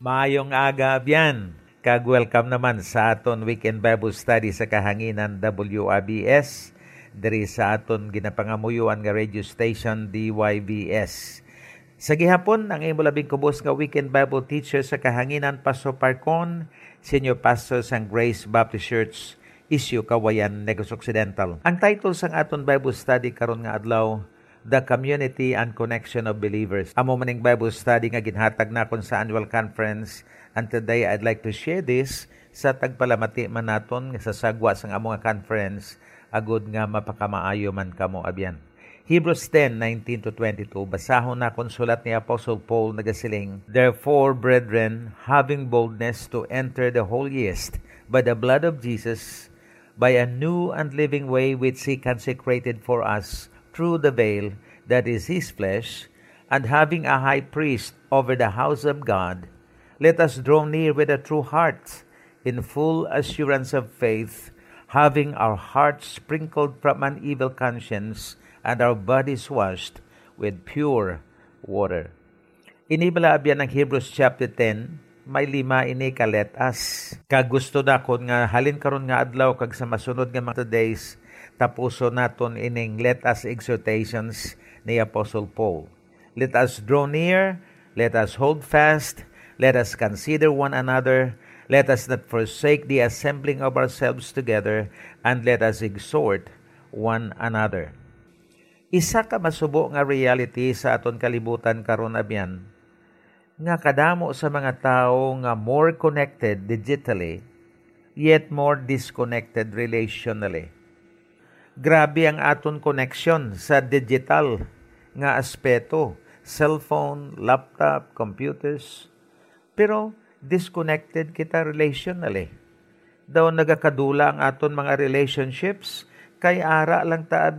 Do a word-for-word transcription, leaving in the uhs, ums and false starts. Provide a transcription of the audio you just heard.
Maayong aga, abyan, kag welcome naman sa aton Weekend Bible Study sa kahanginan W I B S, diri sa aton ginapangamuyoan nga radio station, D Y B S. Sa gihapon, ang imo labing kubos nga Weekend Bible Teacher sa kahanginan, Pastor Parcon, Senior Pastor sang Grace Baptist Church, Isyu, Cauayan, Negros Occidental. Ang title sang aton Bible study karon nga adlaw, The Community and Connection of Believers. Amo man ning Bible study nga ginhatag nakon sa annual conference, and today I'd like to share this sa tagpalamati man naton nga sa sagwa sang amo nga conference, agud nga mapakamaayo man kamo, abyan. Hebrews ten nineteen to twenty-two, basahon nakon sulat ni Apostle Paul, nagasiling, "Therefore, brethren, having boldness to enter the holiest by the blood of Jesus, by a new and living way which he consecrated for us through the veil, that is his flesh, and having a high priest over the house of God, let us draw near with a true heart, in full assurance of faith, having our hearts sprinkled from an evil conscience and our bodies washed with pure water." Ini bala, abyan, ang Hebrews chapter ten, may lima ini ka let us. Kag gusto nakon nga halin karon nga adlaw kag sa masunod nga mga days, tapuson naton ining let us exhortations ni Apostle Paul. "Let us draw near, let us hold fast, let us consider one another, let us not forsake the assembling of ourselves together, and let us exhort one another." Isa ka masubo nga reality sa aton kalibutan karon, abyan, nga kadamo sa mga tawo nga more connected digitally, yet more disconnected relationally. Grabe ang aton koneksyon sa digital nga aspeto, cellphone, laptop, computers, pero disconnected kita relationally. Daw nagakadula ang aton mga relationships kay ara lang ta